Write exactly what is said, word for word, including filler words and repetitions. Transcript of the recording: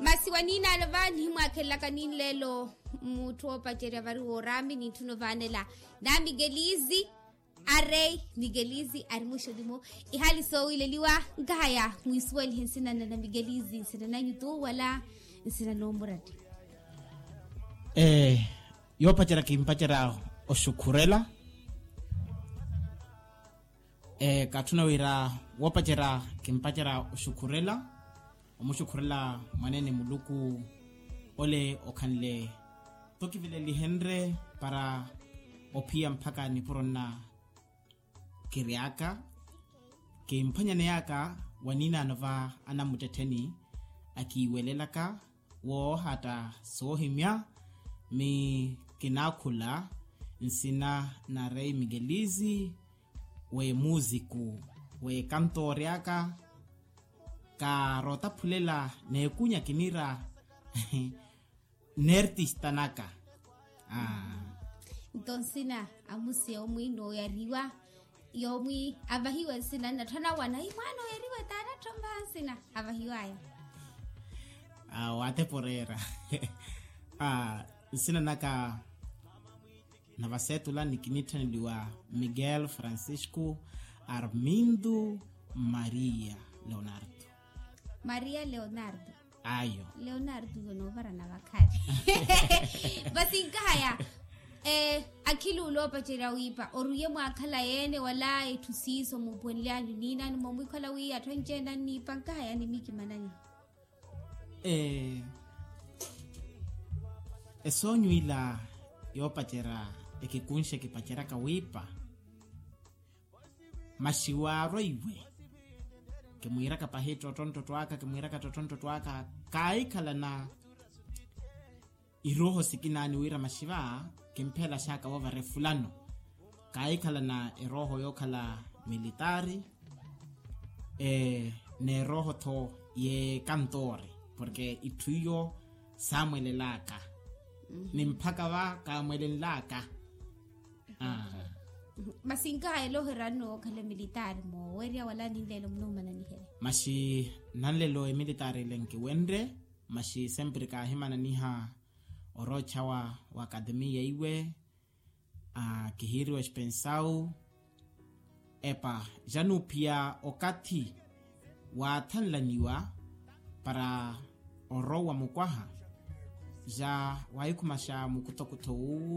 Masi wa niinaalo va nihimwaakhelelaka ninleelo mutthu oopacerya vari woorami nintthuna ovaanela. Na migelizi arei migelizi ari muxolimu. Ihali soowileliwa nkahaya mwiisuwelihe nsina na migelizi nsina nanyu tu wala nsina noomurati. Yoopacerya kimpacerya oxukhurela. Kaatthuna wira woopacerya kimpacerya oxukhurela omuxukhurela mwaneene muluku. Ole okhanle tokivelelihenrye para ophiya mpakha nipuro nna kiryaka. Kimphwanyaneyaka wa niinaano va anamuttettheni akiiwelelaka woohatta soohimya mi kinaakhula nsina na rei migelizi w'emuuziku w'ekantoori aka. Kaarootaphulela n'ekunya kinira n'ertista naka. Nto nsina amusi yoomwi nooyariwa yoomwi avahiwa nsina nnatthana wana imwaana oyariwa taana tthomba nsina avahiwaya. Waateporeera nsina naka na vaseetula nikinitthaneliwa miguel francisco armindo maria leonardo. Maria leonardo. Ayo. Leonardo yo noovarana vakhali. Vasi nkahaya akhili ula oopacerya wiipa oruye mwaakhala yeene wala etthu siiso muupuwenly'anyu niinani moomwikhala wi atthu anci-ene anniipa nkahaya ni mikimanani. Esoonyu ila yoopacerya ekikunxa ekipaceryaka wiipa. Masi waarwa iwe kimwiiraka pahi ttottotto aka kimwiiraka ttottotto aka. Kaahikhalana irooho sikinaani wira masi va kimphelaxaka woovara efulano. Kaahikhalana erooho yookhala militaari n'erooho-tho y'ekantoori porke itthu iyo saamwelelaka ni mphaka va kaamwelenlaka. Masi nkahaya ela ohiranno wookhala emilitaari moowerya wala ninleelo munuumananihela. Masi nanlelo emilitaari ile nkiwenrye masi sempre kaahimananiha oroochawa wa akatemiya iwe. Kihiiriwa espensau epa januuphiya okathi waathanlaniwa para orowa mukwaha ja waahikhumaxa mukutokutho wuwu.